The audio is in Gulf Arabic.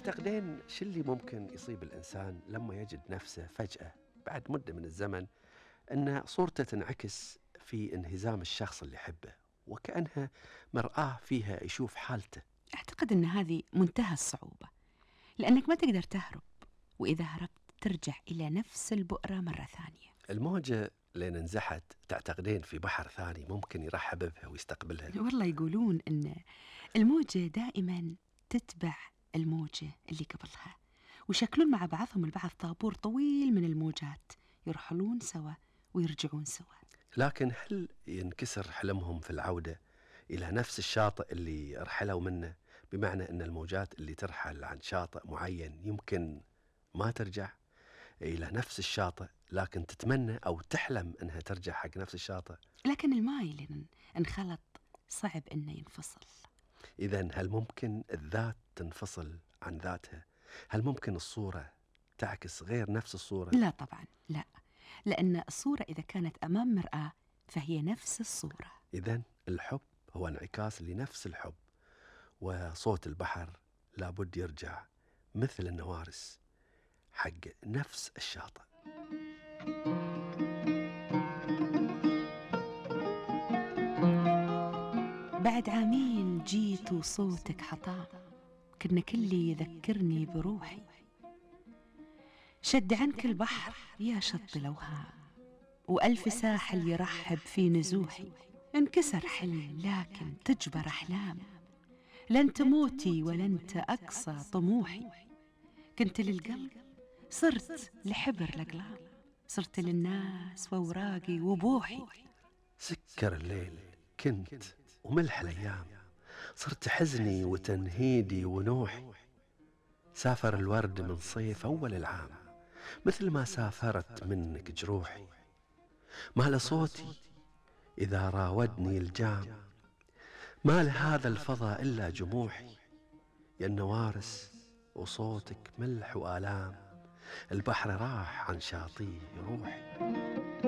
تعتقدين شو اللي ممكن يصيب الإنسان لما يجد نفسه فجأة بعد مدة من الزمن أن صورته تنعكس في انهزام الشخص اللي يحبه وكأنها مرآة فيها يشوف حالته؟ أعتقد أن هذه منتهى الصعوبة، لأنك ما تقدر تهرب، وإذا هربت ترجع إلى نفس البؤرة مرة ثانية. الموجة لين انزحت تعتقدين في بحر ثاني ممكن يرحب بها ويستقبلها؟ والله يقولون أن الموجة دائما تتبع الموجة اللي قبلها، ويشكلون مع بعضهم البعض طابور طويل من الموجات، يرحلون سوا ويرجعون سوا. لكن هل ينكسر حلمهم في العودة إلى نفس الشاطئ اللي رحلوا منه؟ بمعنى أن الموجات اللي ترحل عن شاطئ معين يمكن ما ترجع إلى نفس الشاطئ، لكن تتمنى أو تحلم أنها ترجع حق نفس الشاطئ. لكن الماء اللي انخلط صعب أنه ينفصل. إذن هل ممكن الذات تنفصل عن ذاتها؟ هل ممكن الصورة تعكس غير نفس الصورة؟ لا طبعا لا، لأن الصورة إذا كانت أمام مرآة فهي نفس الصورة. إذن الحب هو انعكاس لنفس الحب، وصوت البحر لابد يرجع مثل النوارس حق نفس الشاطئ. بعد عامين جيت وصوتك حطام، كنا كلي يذكرني بروحي، شد عنك البحر يا شط الأوهام، وألف ساحل يرحب في نزوحي. انكسر حلم لكن تجبر أحلام، لن تموتي ولن تأقصى طموحي. كنت للقلب صرت لحبر الأقلام، صرت للناس وأوراقي وبوحي. سكر الليل كنت وملح الأيام، صرت حزني وتنهيدي ونوحي. سافر الورد من صيف أول العام، مثل ما سافرت منك جروحي. ما لصوتي إذا راودني الجام، ما لهذا الفضا إلا جموحي. يا النوارس وصوتك ملح وآلام، البحر راح عن شاطئ روحي.